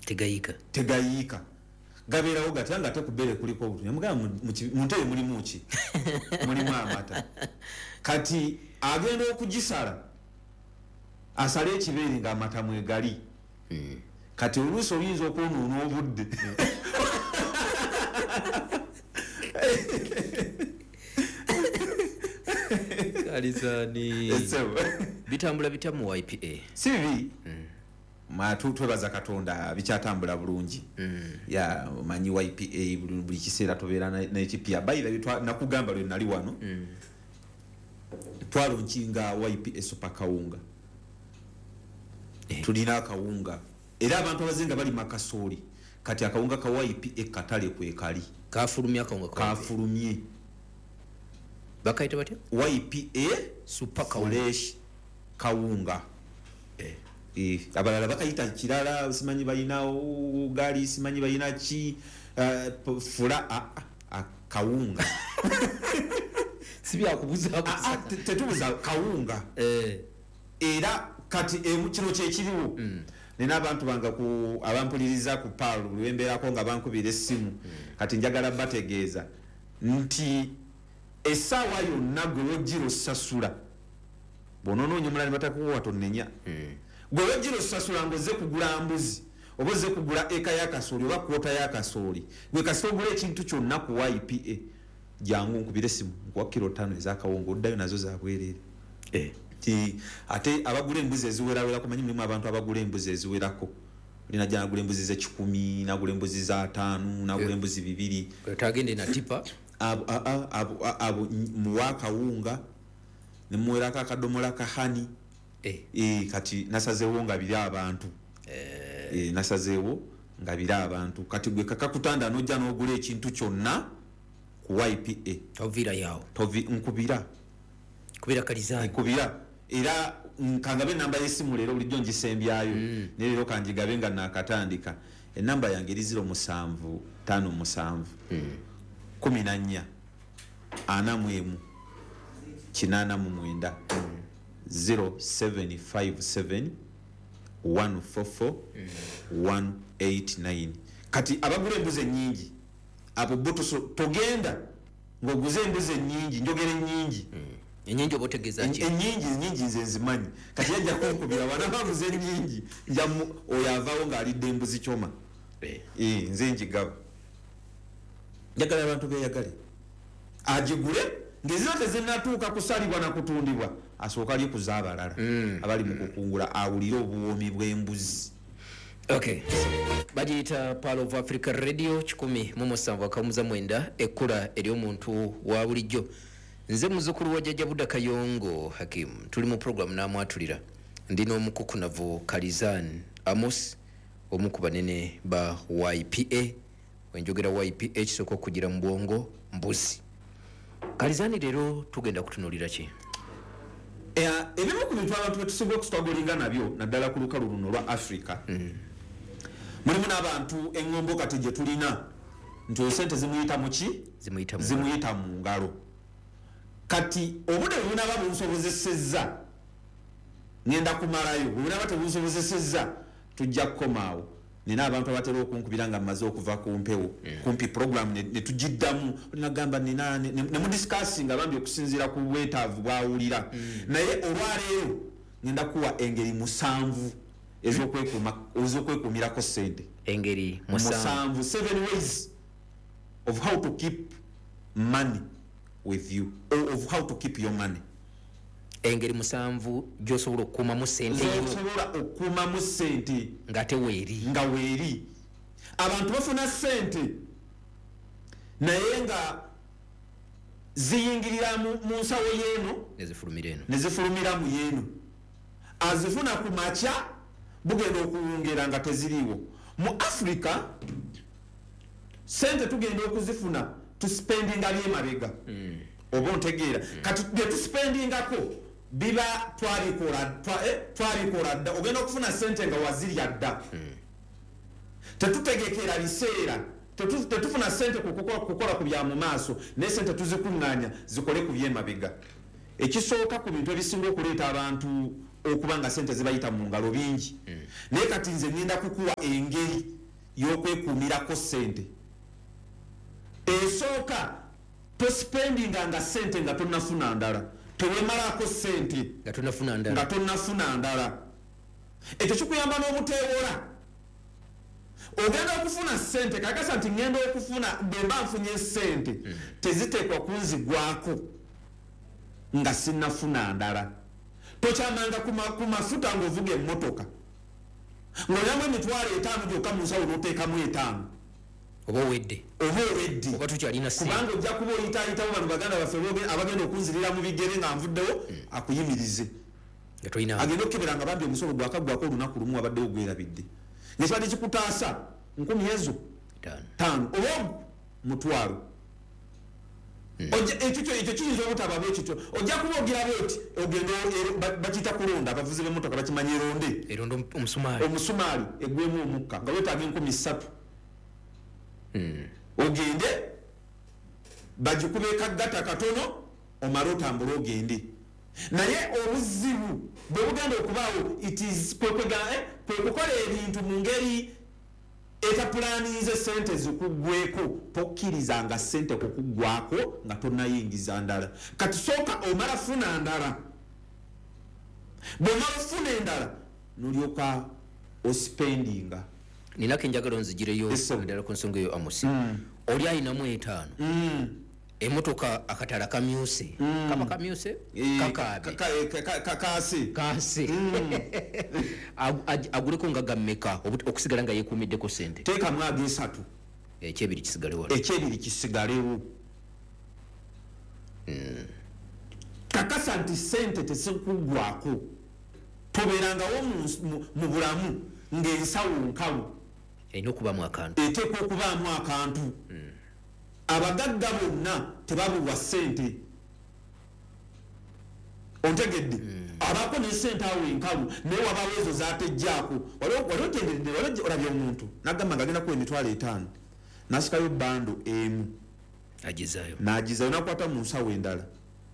Tegayiika. Tegayiika, gabeerawo gatya nga ate ku bbeere kuliko obutunya? Mugamba, mu ntebe mulimu ki? Mulimu amata. Kati agenda okugisala, asale ekibeere ng'amata mwegali. Kati oluusi oyinza okwonoona obudde. Kalizani. Ssebo. Bitambula bitya mu YPA? Si bibi. Twebaza Katonda, bikyatambula bulungi. Ya, omanyi YPA buli kiseera tubeera n'ekipya. Bayira nakugamba lwe nali wano, twalaunchinga YPA Super Kawunga. Tulina akawunga, era abantu abazinga balima kasooli. Kati akawunga ka YPA katale kwekali. Kafulumye akawunga ka YPA. Kafulumye. Bakayita batya? YPA Super Kawunga. Fresh Kawunga. Abalala bakayita kirala, simanyi balina ugali, simanyi balina ki, fula kawunga. Si byakubuzabuza. Tetubuza kawunga. Era kati kino kyekiriwo. Nina abantu bange abampuliriza ku Pearl lwembeerako nga bankubira essimu. Kati njagala bategeeza nti essaawa yonna gwe wojjira osasula, bw'onoonoonya omulala ne batakuwa tonnenya. Gwe wojjira osasula ng'ozze kugula mbuzi oba ozze kugula eka y'akasooli oba kwota y'akasooli, gwe kasita ogula ekintu kyonna ku YPA, jangu nkubire essimu nkuwa kiro 5 ez'akawunga, oddayo nazo za bwereere. Ti ate abagula embuzi eziwerawerako, manyi mulimu abantu abagula embuzi eziwerako. Oli najja nagula embuzi z'ekikumi, nagula embuzi za 5, nagula embuzi 2. Tagende na tipa. Abo muwa akawunga ne muwerako akadomola ka honey. Kati nasazeewo nga biri abantu. Nasazeewo nga biri abantu. Kati gwe kakakutanda n'ojja n'ogula ekintu kyonna ku YPA. Toviira yawo. Tovi, nkubira. Kubira Kalizani. Nkubira. Era nkangabe enamba y'essimu leero, bulijjo ngisembyayo. Naye leero kangigabe nga naakatandika. Enamba yange eri zero musanvu ttaano musanvu. 14 41 89. 0757 144 189. Kati abagula embuzi ennyingi abo bo togenda ng'oguze embuzi ennyingi, njogera ennyingi. Ennyingi oba otegeeza ki? Ennyingi nze nzimanyi. Kati yajja kunkubira wana baguze ennyingi, oyo avaawo ng'alidde embuzi kyoma. Nze njigaba. Njagala abantu beeyagale. Agigule ng'ezira tezinnatuuka kusalibwa na kutundibwa, asooka alye ku z'abalala abali mu kukungula, awulire obuwoomi bw'embuzi. Okay. Bagiyita Pearl of Africa Radio 107.9, ekkula ery'omuntu wa bulijjo. Nze muzzukulu wa Jjajja Buda Kayongo Hakim, tuli mu program n'amwatulira. Ndi n'omukukunavu Kalizan Amos, omu ku banene ba YPA. Wenjogera YPA kisooka okugira mu bwongo mbuzi. Kalizani, leero tugenda kutunuulira ki? Ebimu ku bintu abantu betusinga okustrugglinga nabyo naddala ku lukalu luno lwa Africa, mulimu n'abantu eŋŋombo kati gye tulina nti oyo sente zimuyita mu ki? Zimuyita mu ngalo. Zimuyita mu ngalo. Kati obudde bwe bunaaba bunsobozesezza ngenda kumalayo, bwe bunaaba tebunsobozesezza tujja kukomaawo. Nina abantu abatera okunkubira nga mmaze okuva ku mpewo, kumpi program ne tugiddamu, nagamba nina ne mudiscussinga bambi okusinziira ku bwetaavu bw'awulira. Naye olwaleero ngenda kuwa engeri 7 ez'okwekuumirako ssente. Engeri 7. 7, 7 ways of how to keep money with you, or of how to keep your money. Engeri 7 gy'osobola okukuumamu ssente yo. Gy'osobola okukuumamu ssente. Ng'ate weeri. Nga weeri. Abantu bafuna ssente naye nga ziyingirira mu nsawo y'eno, ne zifulumira eno. Ne zifulumira mu y'eno. Azifuna ku makya, bugenda okuwungera nga teziriiwo. Mu Africa ssente tugenda okuzifuna tuspendinga byemabega. Oba ontegeera? Kati bye tuspendingako biba twabikola dda. Ogenda okufuna ssente nga wazirya dda. Tetutegekera biseera. Tetufuna ssente kukola ku bya mu maaso, naye ssente tuzikuŋŋaanya zikole ku byemabega. Ekisooka ku bintu ebisinga okuleeta abantu okuba nga sente zibayita mu ngalo bingi. Naye kati nze ngenda kukuwa engeri y'okwekuumirako sente. Esooka, tospendinga nga sente nga tonnafuna ndala, tewemalako sente nga tonnafuna ndala, nga tonnafuna ndala. Ekyo kikuyamba n'obuteewola. Ogenda okufuna sente, kakasa nti ngenda okufuna, bwe mba nfunye sente teziteekwa kunzigwako nga sinnafuna ndala. Tokyamanga ku mafuta ng'ovuga emmotoka ng'olyamu 50,000 gyokka mu nsawo n'oteekamu 5, oba owedde, oba owedde, oba tukyalina ssente, kubanga ojja kuba oyitaayitawo bano baganda baffe abagenda okunzirira mu bigere nga nvuddewo, akuyimirize agenda okukebera nga bambi omusolo gwakaggwako olunaku lumu wabaddewo gwerabidde, ng'ekibadde kikutaasa 5,000 ezo oba 1,000. Ekyo kiyinza obutaba bwe kityo, ojja kuba ogira bwoti ogenda bakiyita kulonda, abavuzi b'emmotoka bakimanyi eronde, eronde omusumaali egwemu omukka nga weetaaga 3,000. Ogende bagikube kaggata katono omale otambule ogende. Naye obuzibu bwe bugenda okubaawo, it is kwe kukola ebintu mu ngeri etapulaninze sente zikuggweko. Tokkirizanga sente kukuggwako nga tonnayingiza ndala. Kati sooka omala funa ndala, bw'omala ofuna endala n'olyoka ospendinga. Ninako enjagalo nzigireyo ddala ku nsonga eyo, Amosi. Oli ayinamu 5, emmotoka akatala kamyuse, kaba kamyuse, kakaabe, kaase, aguleko nga gammeka okusigala nga yeekuumiddeko sente? Teekamu ag'esatu, ekyebiri kisigalewo, ekyebiri kisigalewo. Kakasa nti sente tezikuggwako. Tobeerangawo mu bulamu ng'ensawo nkalu, erina okubaamu akantu, eteekwa okubaamu akantu. Abagagga bonna tebabulwa ssente, ontegedde? Abaako ne ssente awo enkalu, naye wabaawo ezo zatejjaako. Wali ogenderedde, wali olabye omuntu n'agamba nga agenda kuwa 50,000, n'asikayo bando emu agizaayo, n'agizaayo, n'akwata mu nsawo endala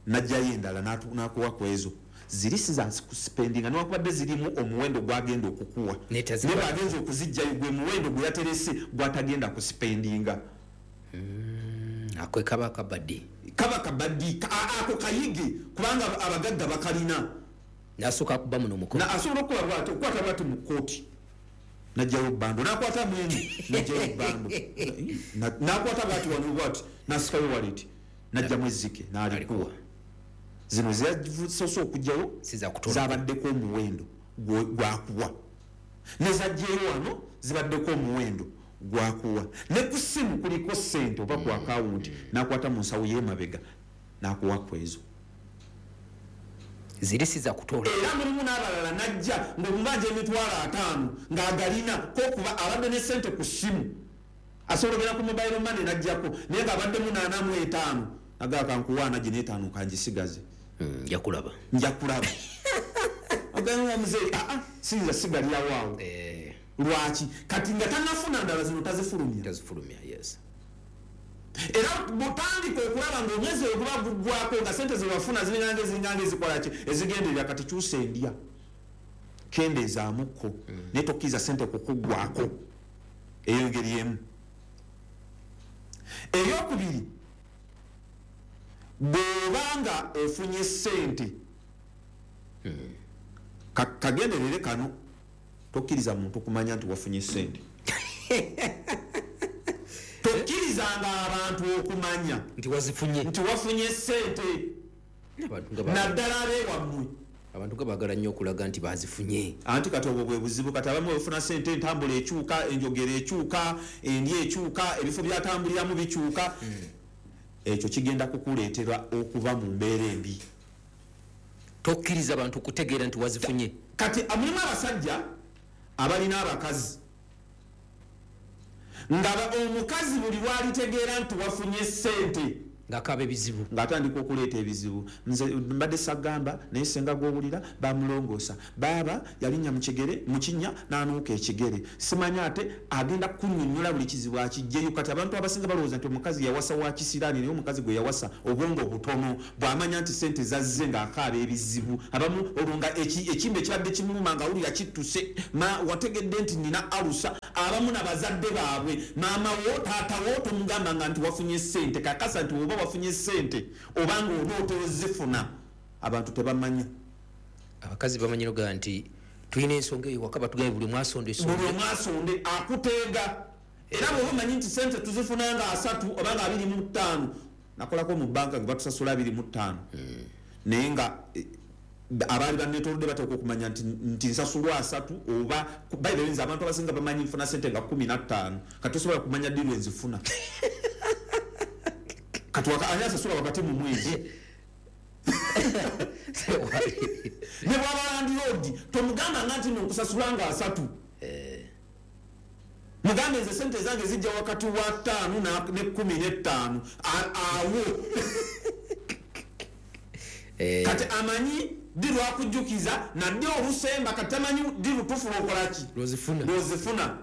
n'aggyayo endala n'akuwa ku ezo ziri si za kuspendinga, newankubadde zirimu omuwendo gwagenda okukuwa, naye bw'agenza okuzijjayo gwe muwendo gwe yaterese gw'atagenda kuspendinga. Ako kaba kabaddi, kaba kabaddi ako kayige, kubanga abagagga bakalina. Nasooka akuba muno mukono, asobola okukola bw'ati, okukwata bw'ati mu kkooti n'aggyayo bando, n'akwata mwenu n'aggyayo bando, n'akwata bw'ati wano bw'ati n'asikayo waleti n'aggyamu ezzike n'alikuwa. Zino zeyasoose okuggyayo zabaddeko omuwendo gwakuwa, nezajjayo wano zibaddeko omuwendo gwakuwa, ne ku ssimu kuliko ssente oba ku akawunti, n'akwata mu nsawo y'emabega n'akuwa ku ezo ziri si za kutoola. Era mulimu n'abalala n'ajja ng'omubanja 50,000 ng'agalina kokuba abadde ne ssente ku ssimu, asobola ogenda ku mobile money n'ajjako, naye ng'abaddemu 45, agamba kankuwa ana gino 5 kangisigaze, nja kulaba, nja kulaba. Ogamba muzeeyi, siyinza sigalirawo awo. Lwaki? Kati nga tannafuna ndala zino tazifulumya, tazifulumya, yes. Era bw'otandika okulaba ng'omwezi oguba guggwako nga sente ze wafuna ziringanga ezikola ki, ezigenderera, kati kyusa endya, kendeezaamukko, naye tokkiriza sente kukuggwako. Eyo engeri emu. Eyokubiri, bw'obanga ofunye sente, kagenderere kano, tokkiriza muntu kumanya nti wafunye sente. Tokkirizanga abantu okumanya nti wazifunye, nti wafunye sente, naddala abeewammwe. Abantu nga baagala nnyo okulaga nti bazifunye. Anti kati obwo bwe buzibu. Kati abamu bafuna sente, entambula ekyuka, enjogera ekyuka, endya ekyuka, ebifo byatambuliramu bikyuka. Ekyo kigenda kukuleetera okuba mu mbeera embi. Tokkiriza abantu kutegeera nti wazifunye. Kati mulimu abasajja abalina abakazi nga omukazi buli lwalitegeera nti wafunye sente Ng'akaaba ebizibu. Ng'atandika okuleeta ebizibu. Nze mbadde sagamba, naye senga gw'owulira bamulongoosa, baaba yalinnya mu kigere, mu kinnya n'anuuka ekigere, simanyi ate agenda kunnyonnyola buli kizibu akijjeyo. Kati abantu abasinga balowooza nti omukazi yawasa wa kisiraani, naye omukazi gwe yawasa obwongo butono. Bw'amanya nti sente zazze ng'akaaba ebizibu, abamu olwo nga ekimbe ekibadde kimuluma ng'awulira kittuse, wategedde nti nina alusa. Abamu nabazadde baabwe, maama wo, taata wo, tomugambanga nti wafunye sente. Kakasa nti oba wafunye sente obanga onootera ozifuna, abantu tebamanya. Abakazi bamanyi nogaa nti tulina ensonga eyo waka, batugambye buli mwasonda. Buli omwasonde akuteega. Era bw'oba omanyi nti sente tuzifuna nga 30 oba nga 25, nakolako mu banka nga batusasula 25, naye nga abaali banneetoolodde bateekwa okumanya nti nsasulwa 30 oba. By the way, nze abantu abasinga bamanyi nfuna sente nga 15. Kati tosobola kumanya ddi lwe nzifuna. Kati ani asasula wakati mu mwezi? Ne bw'aba landlord, tomugamba nga nti nkusasula nga 30. Mugambe nze sente zange zijja wakati wa 5 ne 15 awo. Kati amanyi ddi lwakujjukiza naddi olusemba, kati tamanyi ddi lutuufu lwokolaki. Lwozifuna. Lwozifuna.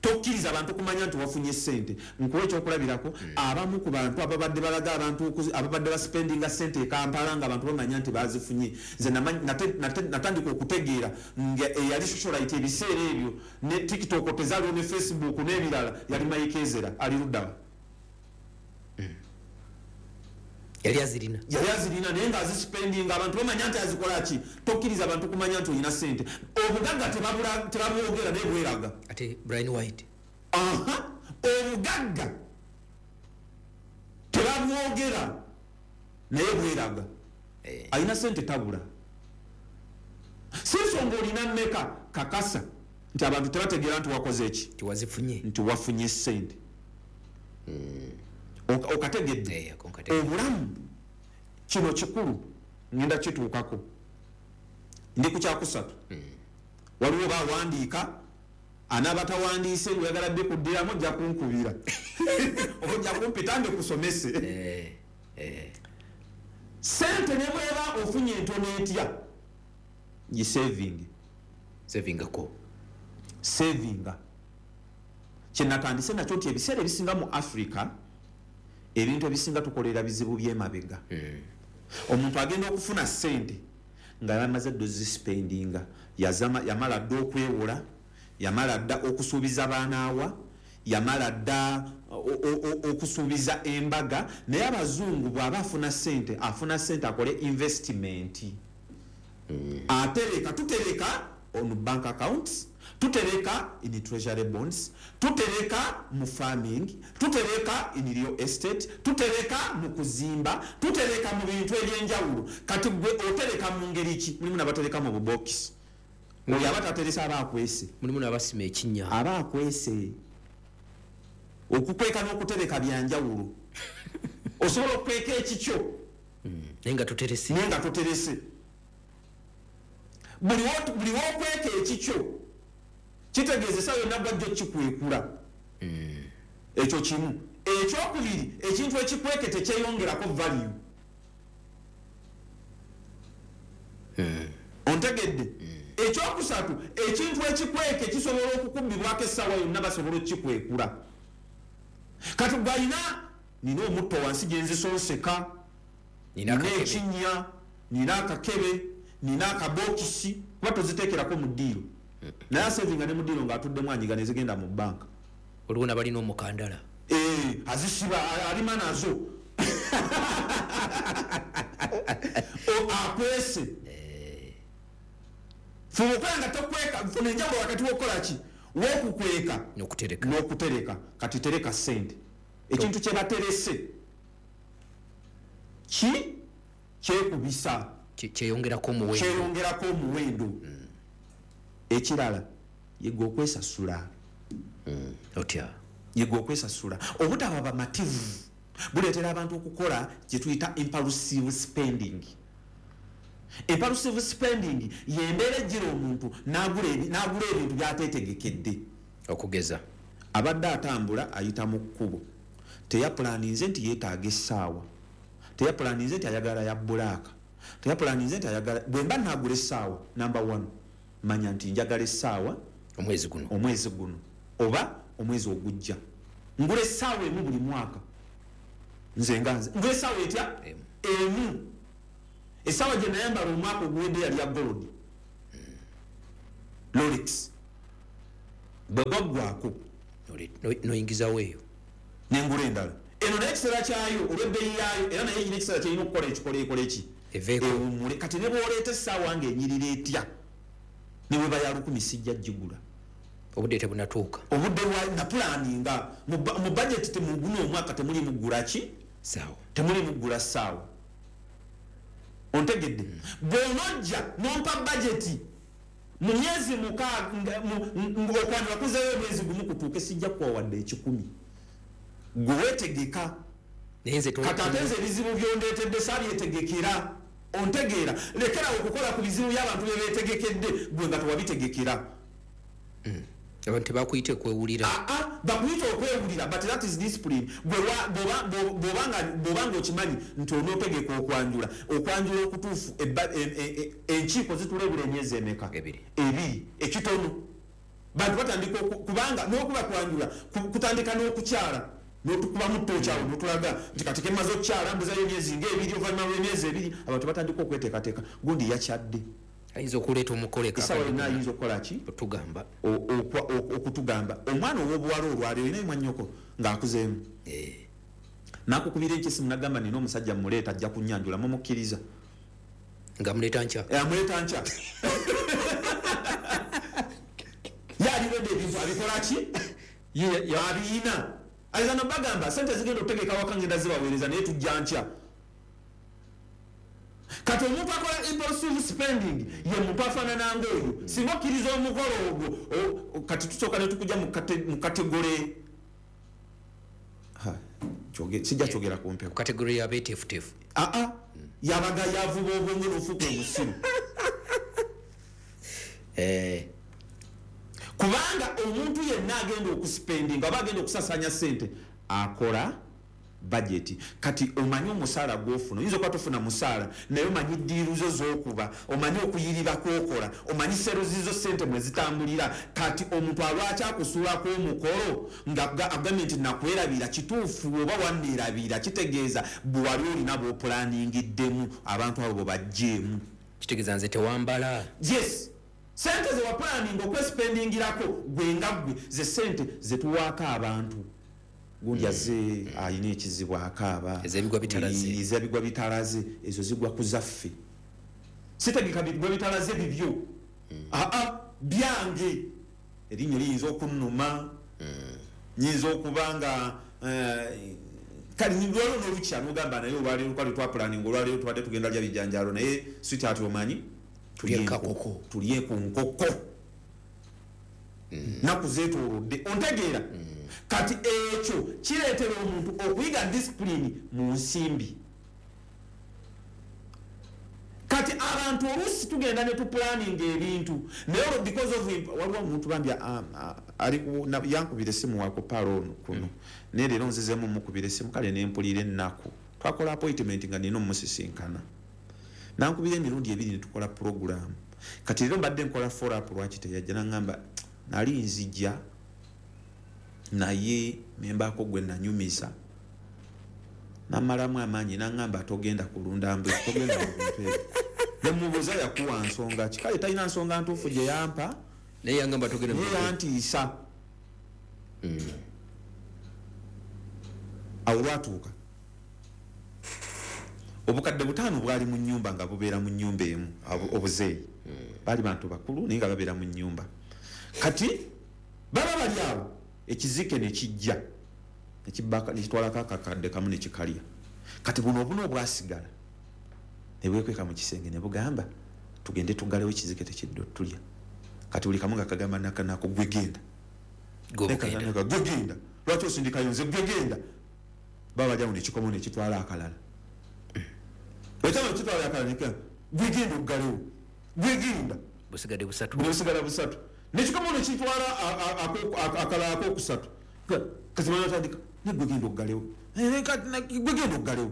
Tokkiriza abantu kumanya nti wafunye sente. Nkuwa ekyokulabirako, abamu ku bantu ababadde balaga abantu ababadde baspendinga sente e Kampala nga abantu bamanya nti bazifunye, nze natandika okutegeera nga eyali socialite ebiseera ebyo, ne TikTok tezaaliwo ne Facebook n'ebirala, yali Mike Ezra. Ali luddawa? Yali azirina. Yali azirina, naye nga azispendinga, abantu bamanya nti azikola ki. Tokkiriza abantu kumanya nti olina sente. Obugagga tebabwogera, naye bweraga. Ate Brian White. Aha, obugagga tebabwogera, naye bweraga. Alina sente tabula. Si nsonga olina mmeka, kakasa nti abantu tebategeera nti wakoze eki, nti wazifunye, nti wafunye sente. Okategedde? Ako nkategedde. Obulamu kino kikulu, ngenda kituukako. Ndi ku kyakusatu. Waliwo bawandiika, anaaba tawandiise, oyagala dde kuddiramu ojja kunkubira oba ojja kumpita ndikusomese. Sente ne bweba ofunye entono etya, gisavinge. Savingako. Savinga. Kyenatandise nakyo nti ebiseera ebisinga mu Africa ebintu ebisinga tukolera bizibu by'emabega. Omuntu agenda okufuna sente nga yamaze dda ozispendinga, yamala dda okwewola, yamala dda okusuubiza baanaawa, yamala dda okusuubiza embaga. Naye abazungu bw'aba afuna sente, afuna sente akole investment. Atereka, tutereka on bank accounts, tutereka in treasury bonds, tutereka mu farming, tutereka in real estate, tutereka mu kuzimba, tutereka mu bintu ebyenjawulo. Kati gwe otereka mu ngeri ki? Mulimu n'abatereka mu bubokisi. Oyo aba tateresa aba akwese. Mulimu n'abasima ekinnya. Aba akwese. Okukweka n'okutereka byanjawulo. Osobola okukweka ekikyo, naye nga toterese. Naye nga toterese. Buli wokweka ekikyo kitegeeza essaawa yonna gwajja okikwekula. Ekyo kimu. Ekyokubiri, ekintu ekikweke tekyeyongerako value. Ontegedde? Ekyokusatu, ekintu ekikweke kisobola okukubbibwako essaawa yonna, basobola okukikwekula. Kati gwalina, nina omutto wansi gye nzisonseka, nina nina akakebe. Ekinnya, nina akakebe, nina akabokisi, kuba toziteekerako mu ddiiro. Naye asevinga ne mu ddiiro ng'atuddemu anyiga ne zigenda mu banka. Waliwo n'abalina omukandala. Azisiba, alima nazo. Akwese. Fuba okulaba nga tokweka, funa enjawulo wakati w'okukola ki? W'okukweka. N'okutereka. N'okutereka. Kati tereka ssente. Ekintu kye baterese ki kyekubisa. Kyeyongerako omuwendo. Kyeyongerako omuwendo. Ekirala, yiga okwesasula. Otya? Yiga okwesasula. Obutaba bamativu buleetera abantu okukola kye tuyita impulsive spending. Impulsive spending y'embeera ejjira omuntu n'agula ebintu by'ateetegekedde. Okugeza? Abadde atambula ayita mu kkubo, Teyapulaninze nti yeetaaga essaawa, teyapulaninze nti ayagala ya black, teyapulaninze nti ayagala. Bwe mba naagula essaawa, number one, manya nti njagala essaawa omwezi guno, omwezi guno oba omwezi ogujja. Ngula essaawa emu buli mwaka. Nze nga nze ngula essaawa etya? Emu. Essaawa gye nayambala omwaka oguwedde yali ya gold Rolex. Bwe gwaggwako noyingizawo eyo nengula endala. Eno naye ekiseera kyayo olw'ebbeeyi yaayo, era naye erina ekiseera kyerina okukola ekikola ekola eki ewummule. Kati ne bw'oleeta essaawa ng'enyirira etya, ne bweba ya 1000 sijja gigula. Obudde tebunatuuka. Obudde bwa napulaninga mu budget temuguno omwaka temuli mugula ki saawa, temuli mugula ssaawa. Ontegedde? Bw'onojja nompa budget mu myezi 6, okwanjula kuzeeyo omwezi gumu kutuuke, sijja kuwa wadde 1,000. Gwe weetegeka. Kati ate nze ebizibu byondeetedde saabyetegekera. Ontegeera? Lekerawo okukola ku bizibu by'abantu bye beetegekedde, gwe nga tewabitegekera. Abantu tebakuyita okwewulira. Bakuyita okwewulira, but that is discipline. Bw'obanga okimanyi nti onootegeka okwanjula, okwanjula okutuufu, enkiiko zitulebula emyezi emeka? Ebiri ekitono. Bantu batandika, kubanga n'okuba kwanjula kutandika n'okukyala, n'otukubamu ttooki awo n'otulaga nti kati kemaze okukyala mbuzayo emyezi ng'ebiri. Oluvannyuma lw'emyezi 2 abantu batandika okweteekateeka. Gundi yakyadde, ayinza okuleeta omukolo. Essaawa yonna ayinza okukola ki? Otugamba. Okutugamba. Omwana ow'obuwala olwaleero olina mwannyoko ng'akuzeemu, nakukubira enkesimu nagamba, nina omusajja muleeta ajja kunnyanjula, mumukkiriza? Nga muleeta nkya. Amuleeta nkya. Ye aliredde ebintu abikola ki? Abiyina. Ayinza nobagamba sente zigenda okutegeka waka, ngenda zibaweereza, naye tujja nkya. Kati omuntu akola impulsive spending ye muntu afaanana ngaoyo. Singa okkiriza omukolo ogwo, kati tusooka ne tukujja mu category, sijja kyogera ku mpewo. Category y'abeeteefuteefu. Aa, yabaga yavuba obwongo n'ofuuka omusiru. Kubanga omuntu yenna agenda okuspendinga oba agenda okusasanya sente akola budget. Kati omanyi omusaala gwofuna, oyinza okuba tofuna musaala, naye omanyi deal zo z'okuba, omanyi okuyiriba kwokola, omanyi sales zo sente mwe zitambulira. Kati omuntu alwaki akusuulako omukolo nga agambye nti nakwerabira? Kituufu, oba wanneerabira kitegeeza bwe wali olina bw'opulanинgiddemu abantu abo bwe bajjeemu. Kitegeeza nze tewambala. Yes, sente ze wapulaninga okwespendingirako gwe nga ggwe, ze sente zetuwaako abantu. Gundi azze ayina ekizibu, akaaba. Ez'ebigwa bitalaze. Ez'ebigwa bitalaze, ezo zigwa ku zaffe. Sitegeka bigwa bitalaze bibyo, aa, byange. Erinnya liyinza okunnuma, nyinza okuba nga kale lwaliwo n'olukya nogamba, naye olwaleero twali twapulaninga, olwaleero tubadde tugenda lya bijanjaalo, naye sweetheart omanyi tulye kakoko. Tulye ku nkoko, naku zeetoolodde. Ontegeera? Kati ekyo kireetera omuntu okuyiga discipline mu nsimbi. Kati abantu oluusi tugenda ne tupulaninga ebintu, naye olwo because of waliwo omuntu bambi ali yankubira essimu wako palo ono kuno, naye leero nzizemu mukubira essimu, kale nempulira ennaku. Twakola appointment nga nina omusisinkana, nankubira emirundi ebiri netukola program. Kati leero mbadde nkola follow up, lwaki teyajja? Naŋŋamba nali nzija, naye nembaako gwe nanyumiza namalamu amaanyi, naŋŋamba togenda kulunda mbuzi, togenda mu bintu ebyo. Nemubuuza yakuwa nsonga ki? Kale talina nsonga ntuufu gye yampa. Naye yangamba togenda naye yantiisa. Awo lwatuuka obukadde 5 bwali mu nyumba nga bubeera mu nyumba emu. Obuzeeyi baali bantu bakulu, naye nga babeera mu nyumba. Kati baba bali awo, ekizike nekijja nekitwalako akakadde kamu nekikalya. Kati buno obuno obwasigala ne bwekweka mu kisenge ne bugamba, tugende tuggalewo ekizike tekidde otulya. Kati buli kamu nga kagamba nakanako, gwe genda. Gwe genda, lwaki osindikayo nze? Gwe genda. Baba bali awo, nekikomo nekitwala akalala. Ekama kitwala akalala, gwe genda oggalewo, gwe genda. Busigadde busatu. Busigala busatu. Nekikomo nekitwala akalala akokusatu. Kati banatandika Negwe genda oggalewo, gwe genda oggalewo,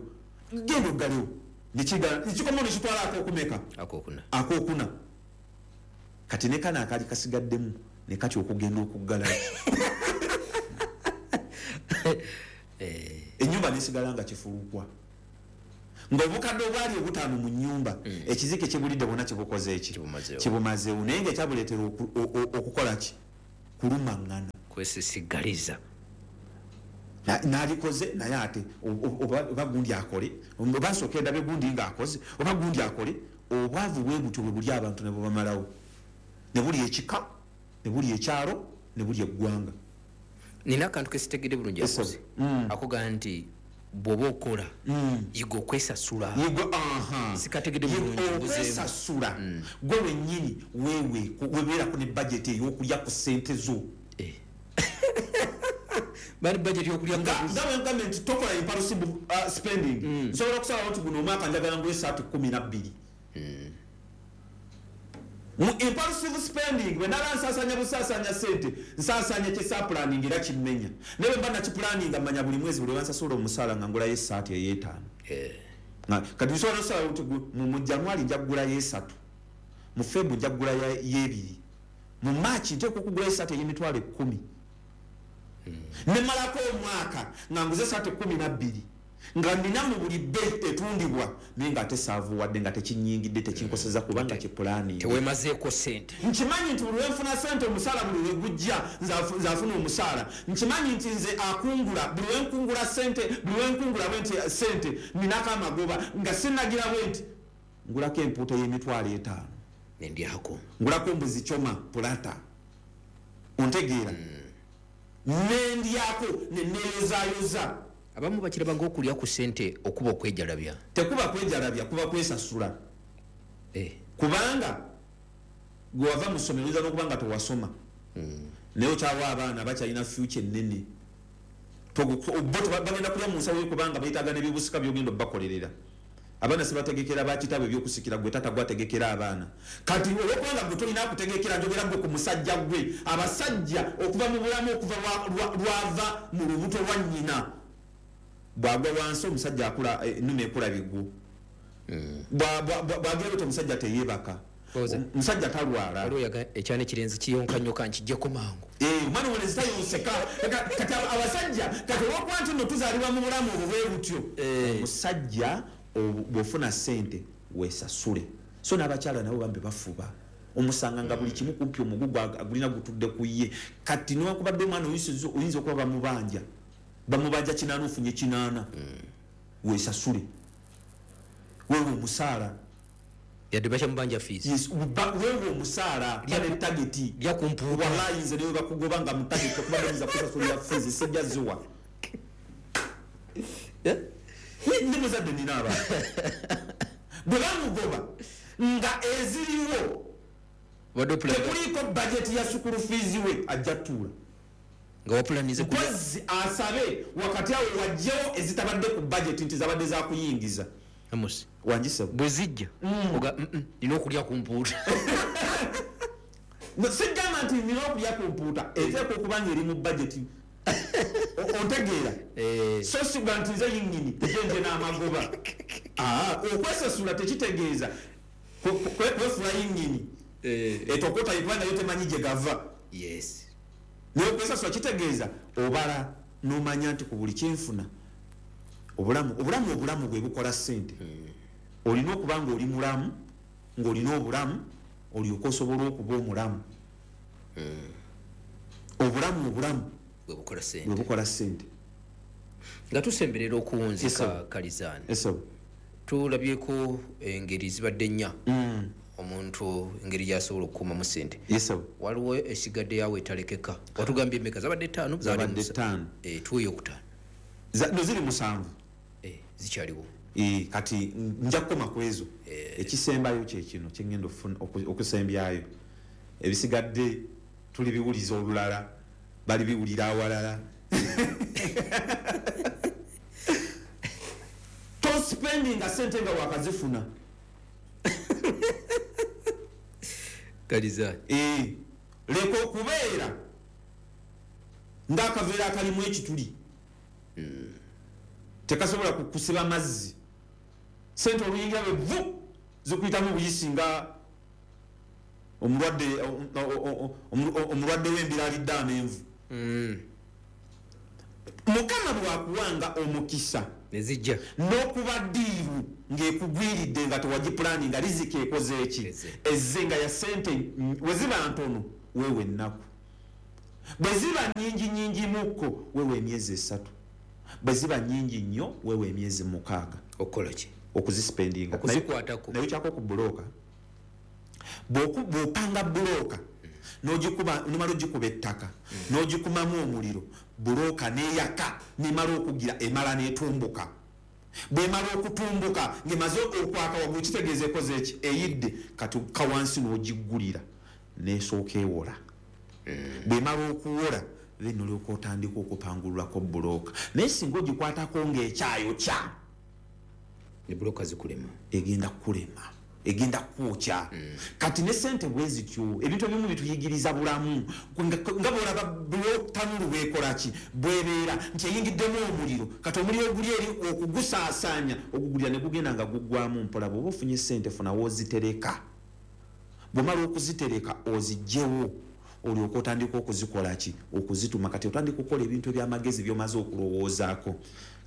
genda oggalewo. Nekikomawo nekitwala akokumeka, akokuna. Kati ne kano akaali kasigaddemu ne katya okugenda okuggalayo. Ennyumba nesigala nga kifulukwa, ng'obukadde obwali obutaano mu nnyumba, ekizike kibulidde bwonna kibukoze eki, kibumazeewo. Naye nga ekyabuleetera okukola ki? Kulumaŋŋana, kwesisigaliza. Nalikoze naye ate oba gundi akole, oba nsooka endabe gundi ng'akoze, oba gundi akole. Obwavu bwe butyo bwe buli abantu ne bubamalawo, ne buli ekika, ne buli ekyalo, ne buli eggwanga. Nina akantu kesitegedde bulungi akoze akugamba nti bw'oba okola yiga okwesasula. Sikategedde bulungi. Okwesasula gwe wennyini wewe webeerako ne budget ey'okulya ku ssente zo. Bali budget yokulya nga bwe nti tokola impulsive spending. Nsobola okusalawo nti guno omwaka njagala ngule esaati 12. Mu impulsive spending bwe naba nsaasanya busaasanya ssente, nsaasanya kyesapulaninga era kimmenya. Naye bwe mba nakipulaninga mmanya buli mwezi buli lwansasula omusaala nga ngulayo essaati ey'etaano. Kati nsobola okusalawo nti mu January nja kugulayo 3, mu February nja kugulayo 2, mu March nteekwa okugulayo essaati ey'emitwalo 10. Nemalako omwaka nga nguze essaati 12 nga nina mu buli bbeeyi etundibwa, naye nga ate saavuwadde, nga tekinyingidde, tekinkoseza kubanga kipulaani. Tewemazeeko ssente. Nkimanyi nti buli lwenfuna ssente omusaala buli lwe gujja nze afuna omusaala. Nkimanyi nti nze akungula buli lwenkungula ssente, buli lwenkungula bwe nti ssente ninako amagoba, nga sinnagira bwe nti ngulako empuuta y'emitwalo 5 nendyako, ngulako mbuzi choma pulata, ontegeera, nendyako neneeyozayoza. Abamu bakiraba ng'okulya ku ssente okuba okwejalabya. Tekuba kwejalabya, kuba kwesasula. Kubanga gwe wava mu ssomero oyinza n'okuba nga tewasoma, naye okyawa abaana bakyalina future ennene. Bo bagenda kulya mu nsawo yo kubanga beetaaga n'ebyobusika by'ogenda obbakolerera. Abaana sibategekera bakitaabwe ebyokusikira, gwe taata gwategekera abaana. Kati olwokubanga gwe tolina kutegekera, njogera gwe ku musajja gwe. Abasajja okuva mu bulamu, okuva lwava mu lubuto lwa nnyina, bw'agwa wansi omusajja akula ennume ekula bigwo. Bw'agera bw'atyo omusajja teyeebaka, omusajja talwala. Ekyana ekirenzi kiyonka nnyo kankijjeko mangu. Omwana omulenzi tayonseka. Kati abasajja, kati olw'okuba nti nno tuzaalibwa mu bulamu obwo bwe butyo, omusajja bw'ofuna ssente weesasule. So n'abakyala nabo bambi bafuba, omusanga nga buli kimu kumpi omugugu agulina gutudde ku ye. Kati newankubadde omwana oyinza okuba bamubanja 8, ofunye 8, weesasule, weewe omusaala. Yadde bakyamubanja fees. Yes, weewe omusaala ne target lya kumpuuta. Wallahi nze ne bakugoba nga mu target okuba bayinza kusasulira fees, sijja ziwa. Ndi muzadde nina abaana. Bwe bamugoba nga eziriwo, tekuliiko budget ya school fees we ajja tuula. Nga wapulanize mpozi asabe wakati awo wajjewo ezitabadde ku budget nti zabadde za kuyingiza. Amos, wangise bwe zijja oga nina okulya ku mpuuta. Sigamba nti nina okulya ku mpuuta, eteekwa okuba nga eri mu budget. Ontegeera? So sigamba nti nze yennyini nje n'amagoba. Okwesasula tekitegeeza kwefuula yennyini. Etokota ikuba nayo temanyi gye gava. Yes. Naye okwesasula kitegeeza obala n'omanya nti ku buli kyenfuna obulamu bwe bukola ssente. Olina okuba ng'oli mulamu, ng'olina obulamu, olyoke osobola okuba omulamu. Obulamu bwe bukola ssente. Nga tusemberera okuwunzika Kalizaani, tulabyeko engeri zibadde nnya omuntu engeri gy'asobola okukuumamu ssente. Waliwo esigadde yawe etalekeka. Watugambye emmeka? Zabadde 5? Zabadde 5. Tuweeyo okutaano. No ziri 7. Zikyaliwo. Kati nja kukoma ku ezo. Ekisembayo kye kino kye ngenda okusembyayo. Ebisigadde tulibiwuliza olulala, balibiwulira awalala. Tospendinga ssente nga wakazifuna. Kaliza. Leka okubeera ng'akaveera akalimu ekituli. Tekasobola kukusiba mazzi. Sente oluyingira bwe vu zikuyitamu buyisi nga omulwadde w'embira alidde amenvu. Mukama bw'akuwanga omukisa nezijja n'okuba ddiiru ng'ekugwiridde nga tewagipulaani nga riziki ekoze eki ezze nga ya sente we ziba ntono weewe ennaku, bwe ziba nnyingi nnyingi mukko weewe emyezi 3, bwe ziba nnyingi nnyo weewe emyezi 6. Okukola ki? Okuzisipendinga, okuzikwatako. Naye kyako ku bulooka, bw'opanga bulooka n'ogikuba, nomala ogikuba ettaka n'ogikumamu omuliro, bulooka n'eyaka nemala okugira emala n'etumbuka. Bwemala okutumbuka ng'emaze okwaka waggulu kitegeeza ekoze eki? Eyidde. Kati kawansi n'ogiggulira n'esooka ewola. Bwemala okuwola then olyoka otandika okupangululako bulooka. Naye singa ogikwatako ng'ekyayokya, ne bulooka zikulema, egenda kukulema, egenda kwokya. Kati ne sente bwe zityo, ebintu ebimu bituyigiriza bulamu. Nga bw'olaba tanulu bwekola ki, bwebeera nti eyingiddemu omuliro. Kati omuliro oguli eri okugusaasaanya ogugulira ne gugenda nga guggwamu mpola. Bw'oba ofunye sente funa w'ozitereka, bw'omala okuzitereka oziggyewo olyoka otandika okuzikola ki, okuzituma. Kati otandika okukola ebintu ebyamagezi by'omaze okulowoozaako.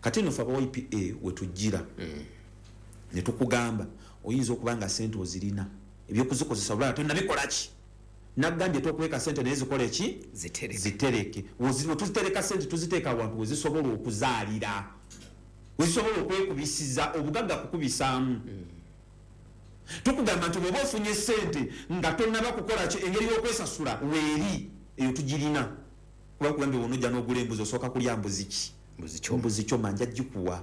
Kati eno ffe aba YPA we tujjira ne tukugamba oyinza okuba nga sente ozirina, ebyokuzikozesa bulala tonnabikola ki. Nagambye tokweka sente naye zikole ki? Zitereke. Tuzitereka sente tuziteeka awantu we zisobola okuzaalira, we zisobola okwekubisiza, obugagga kukubisaamu. Tukugamba nti bw'oba ofunye sente nga tonnaba kukola ki, engeri y'okwesasula weeri eyo tugirina. Kuba nkugambye bw'onojja n'ogula embuzi osooka kulya mbuzi ki? Mbuzi kyoma nja gikuwa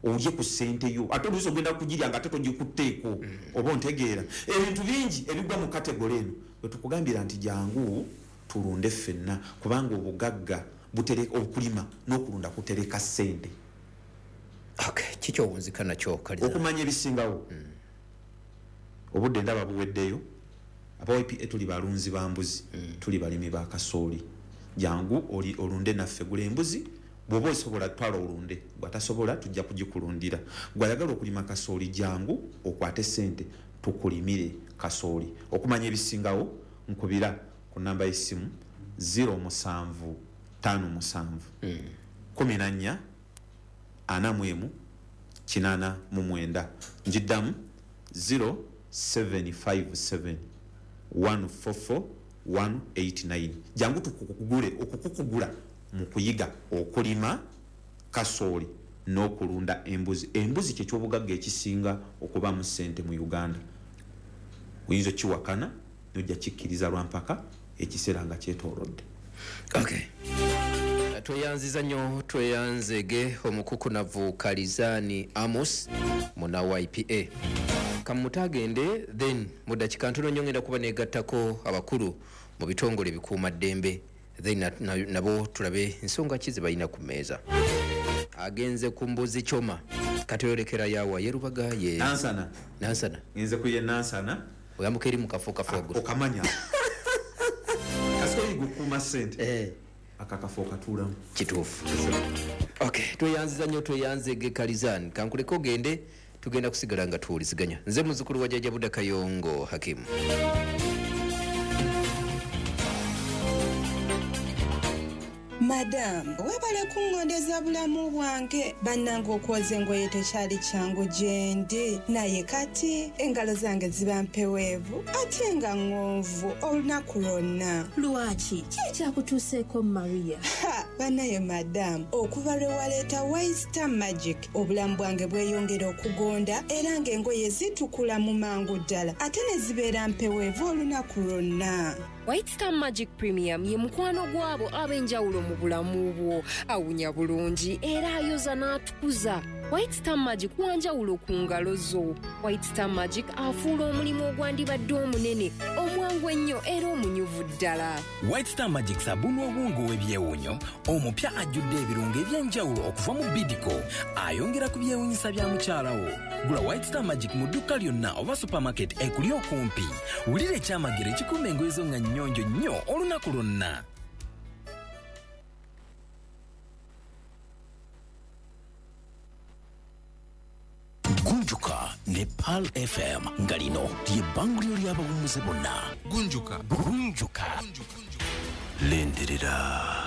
olye ku ssente yo, ate oluusi ogenda kugirya nga ate togikutteeko. Oba ontegeera? Ebintu bingi ebigwa mu kategole eno bwe tukugambira nti jangu tulunde ffenna, kubanga obugagga okulima n'okulunda kutereka ssente. Kiki owunzika nakyo Kaliza? Okumanya ebisingawo. Obudde ndaba buweddeyo. Aba YPA tuli balunzi ba mbuzi, tuli balimi ba kasooli. Jangu olunde naffe, gula embuzi. Bw'oba osobola twala olunde, bw'atasobola tujja kugikulundira. Gw'ayagala okulima kasooli jangu okwate ssente tukulimire kasooli. Okumanya ebisingawo nkubira ku namba y'essimu 0757 14 41 89. Njiddamu 0757 144 189. Jangu tukukugule, okukukugula mu kuyiga okulima kasooli n'okulunda embuzi. Embuzi kye ky'obugagga ekisinga okubaamu ssente mu Uganda. Oyinza okiwakana n'ojja kikkiriza lwa mpaka ekiseera nga kyetoolodde. Tweyanziza nnyo, tweyanzege omukukunavu Kalizani Amos muna YPA. Kamutagende then mu dakiika ntono nnyo ngenda kuba negattako abakulu mu bitongole ebikuumaddembe, then nabo tulabe ensonga ki ze balina ku mmeeza. Agenze ku mbuzi kyoma, kati oyolekera yawa ye Rubaga ye Nansana. Nansana. Ngenze ku ye Nansana. Oyambuka eri mu kafo kafo waggulu. Okamanya. Kasiko yiga okukuuma ssente. Akakafo katuulamu. Kituufu. Tweyanziza nnyo, tweyanzege Kalizani. Kankuleke ogende, tugenda kusigala nga tuwuliziganya. Nze muzzukulu wa Jjajja Buda Kayongo Hakimu. Madamu, webale kungondeza bulamu bwange. Bannange okwoza engoye tekyali kyangu gye ndi, naye kati engalo zange ziba mpeweevu ate nga ŋŋonvu olunaku lwonna. Lwaki? Ki ekyakutuuseeko Maria? Ha, bannaye madamu, okuva lwe waleeta White Star Magic obulamu bwange bweyongera okugonda era ng'engoye zitukula mu mangu ddala ate ne zibeera mpeweevu olunaku lwonna. White Star Magic Premium ye mukwano gw'abo ab'enjawulo mu bulamu bwo. Awunya bulungi era ayoza n'atukuza. White Star Magic wanjawulo ku ngalo zo. White Star Magic afuula omulimu ogwandibadde omunene, omwangu ennyo era omunyuvu ddala. White Star Magic sabuni obwongo w'ebyewuunyo omupya ajjudde ebirungo eby'enjawulo okuva mu Bidco, ayongera ku byewuunyisa bya mukyala wo. Gula White Star Magic mu dduuka lyonna oba supermarket ekuli okumpi. Wulira ekyamagero ekikuuma engoye zo nga nnyonjo nnyo olunaku lwonna. Gunjuka ne Pearl FM, nga lino lye bbanguliro ly'abawummuze bonna. Gunjuka. Gunjuka. Lindirira.